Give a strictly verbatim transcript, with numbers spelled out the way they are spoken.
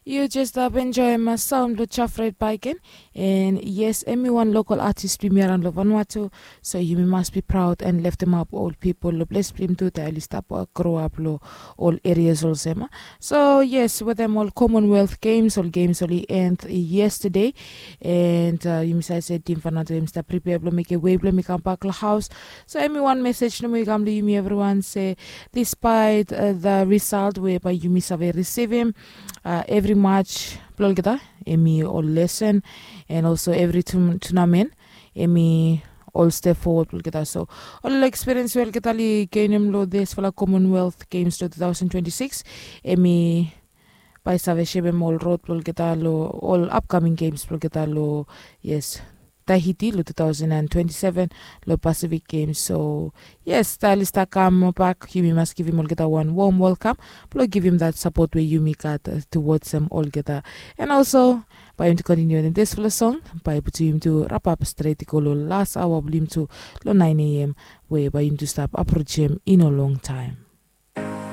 Yu jes stap enjoim saun blong jafret baiken. En yes, em i wan lokal atis blong yumi araon long Vanuatu. So yumi mas bi praud en leftemap ol pipol long ples blong yumi tu, dat oli stap groap long ol erias olsem. So yes, wetem ol Commonwealth Games, ol games oli end yestade. En yumi save se tim Vanuatu em i stap pripea blong mekem wei blong em i kambak long haos. So em i wan mesej nomo i kam long yumi evriwan se, despite the result we bae yumi save risivim, evri match blong olgeta em i ol lesen, and also evri tunamen em i ol step fowod blong olgeta. So ol ekspiriens we olgeta oli genim long disfala Commonwealth Games long two thousand twenty-six, em i bae save sepem ol rod blong olgeta long ol apkaming games blong olgeta long, yes, Tahiti long two thousand and twenty-seven long Pacific Games. So yes, dat oli stap kam bak, yumi mas givim olgeta wan wom welkam blong givim dat sapot we yumi gat towards em olgeta. And also, bae yumi tu kontiniu wetem disfala song bae i putum yumi tu rapap stret i go long las aoa blong yumi tu long nine a.m. we bae yumi tu stap aprojem i no longtaem.